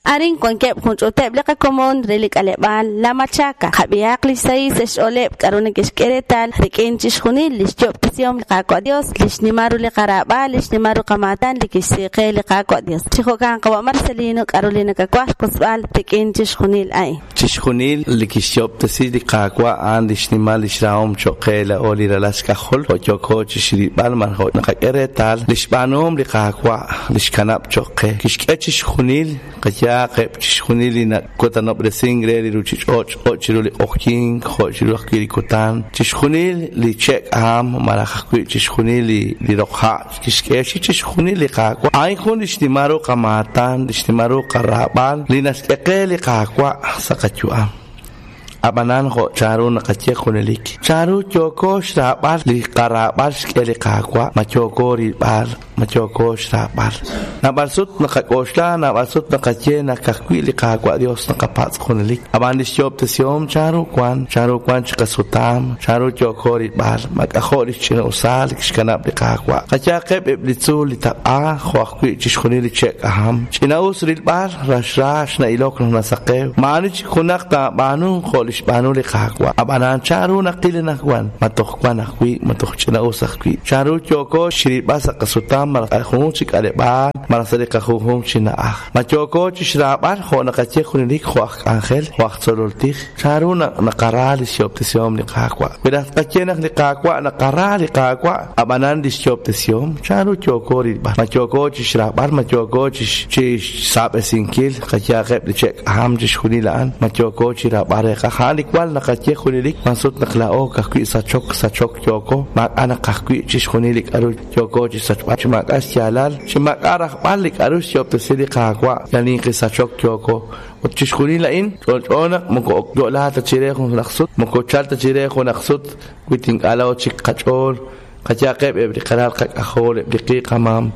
Arin wankeb' jun ch'uuteb' li qakomon re li k'aleb'aal La Machaca. Qab'ihaq li xsahil sa' xch'ooleb' k'aru neke'xk'e reetal rik'in chixjunil li xyob'tesihom li Qaawa' Dios, li xnimal ru li qaraab'al, li xnimal ru qamaatan li kixsi qe li Qaawa' Dios. Chi jo'kan qawa' Marcelino k'aru li nakawaj xwotzb'al rik'in chixjunil a'in. Chixjunil li kixyoob'tesi li Qaawa' a'an li xnimal li xrahom cho'q qe laa'o li ralal xk'ajol, jo' yooko chi xrilb'al malaj jo' naqak'e reetal li xb'aanuhom li Qaawa' li xkanab' cho'q qe. Kixk'e chixjunil, qayehaq eb' chixjunil li nakutanob'resink re li ruuchich'och', jo' chiru li q'oqyink, jo' chiru ajwi' li kutan, chixjunil li che' k'aham malaj ajwi' chixjunil li roq ha'. Kixk'e xik chixjunil li Qaawa'. A'in jun li xnimal ru qamaatan, li xnimal ru qaraab'al li naxk'e qe li Qaawa' sa' qayu'am. Ab'anan jo' chanru naqaye junelik, chanru yooko xraab'al li qaraab'al xk'e li Qaawa', ma yooko rilb'al, ma yooko xraab'al. Naab'al sut naqak'oxla, naab'al sut naqaye naq ka'ajwi' li Qaawa' Dios naqapatz' junelik. Ab'an li xyoob'tesihom chanru wan, chanru wan chi qasutam, chanru yooko rilb'al, ma k'ajo' li xch'ina'usal li kixkanab' li Qaawa'. Qayehaqeb' eb' li tzuul li taq'a, jo' ajwi' chixjunil li che' k'aham. Ch'ina'us rilb'al, raxrax na'ilok naq nasaqew. Maa'ani chik junaq taab'aanu jo' li xb'aanu li Qaawa'. Ab'anan chanru naqil anaqwan, ma toj wan ajwi', ma toj ch'ina'us ajwi'. Chanru yooko xrilb'al sa' qasutam malaj sa' junjunq chi k'aleb'aal malaj sa' li qajunjunq chi na'aj. Ma yooko chi xraab'al jo' naqaye junelik jo' aj k'anjel, jo' aj tzolol tij? Chanru naq naqara li xyoob'tesihom li Qaawa'? Wi raj tqaye naq li Qaawa' naqara li Qaawa', ab'anan li xyoob'tesihom, chanru yooko rilb'al? Ma yooko chi xraab'al? Ma yooko chi xsaab'esinkil? Qayehaq eb' li che' k'aham chixjunil a'an, ma yooko chi raab'al reeqaj? A'an li wal naqaye junelik, wan sut naq laa'o ka'ajwi' sachok, sachok yooko, maak'a' naqaj wi' chixjunil li k'aru yooko chi xsachb'al chi maak'a' xyaalal, chi maak'a' rajb'al li k'aru xyoob'tesi li Qaawa', yal ninqi sachok yooko. Ut chixjunil a'in, ch'olch'o naq moko yo'la ta chire junaq sut, moko chal ta chire junaq sut wi ink'a' laa'o chik qach'ool, qayehaqeb' eb' li qalal qak'ajol, eb' li qi qamam.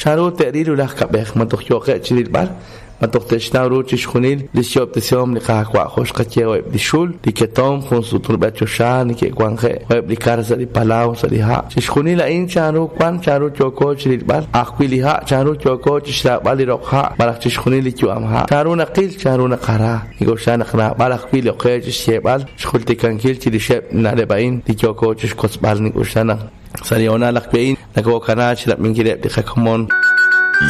Chanru te'ril ru laj kab'ej? Ma toj yooqeb' chi rilb'al? Ma toj te'xnaw ru chixjunil li xyoob'tesihom li Qaawa' jo' xqaye eb' li xul, li ketomq, jun sut rub'el choxa neke'wanje'k, jo' eb' li kar sa' li palaw, sa' li ha'? Chixjunil a'in chanru wank, chanru yooko chi rilb'al, ajwi' li ha' chanru yooko chi xraab'al li roq ha' malaj chixjunil li yu'am ha', chanru naqil, chanru naqara. Nink'oxla naq naab'al ajwi' li oqe chi xyeeb'al, xjultikankil chirixeb' li na'leb' a'in li yooko chi xkotzb'al. Nink'oxla naq sa' li hoonal ajwi' a'in nokokanaak chi rab'inkileb' li qakomon.